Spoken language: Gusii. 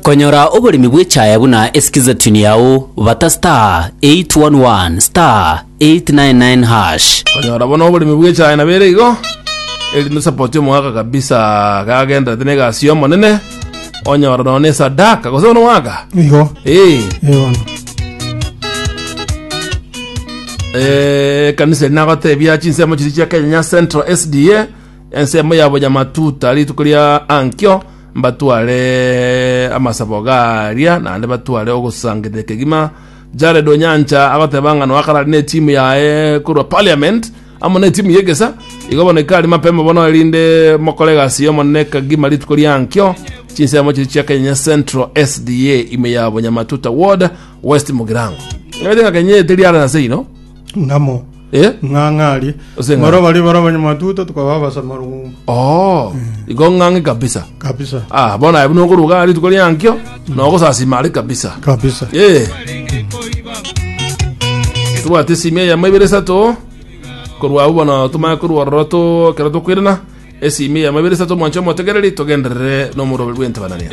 Konyora oboremi bw'echaya buna eskiza tune yao, bata *811 *899#. Konyora bono oboremi bw'echaye nabo ere igo, erinde osapoti omogaka kabisa kagenderete na egasi y'Omonene, onyora nonya na esadaka gose bono omogaka? Igo. Eh. Eh bono. Eh, ekanisa eri nagotebia chinsemo chiria chia Kenya Central SDA ensemo ya Bonyamatuta rituko ria ankio mbatware amasabo garia naende batware ogosangereria kegima Jared Onyancha agoteba ng'a noa karari ne team yaye korwa parliament amo ne team y'egesa igo bono ikari mapema bono erinde mokore egasi y'omonene kegima rituko ria ankio chinsemo chiria chia Kenya Central SDA ime ya Bonyamatuta Ward West Mugirango. Ng'aete ng'a Kenya teri are nase ino. Ng'amo. Eh? Ng'ang'a aria. Ose ng'a- Baro baria bare abanyamatuta tukaba abasamarung'umbu. Oh, igo ng'ang'e kabisa. Kabisa. Ah, bono aye buna okoruga rituko ria ankio, nogosasima are kabisa. Kabisa. Eh. Tobwate esimi eyemo ibere isato korwa abwo bono tomanye korwa ororo to ekero tokoirana esimi eyemo ibere isato mwanche omotegereri togenderere nomoroberi bw'entabanania.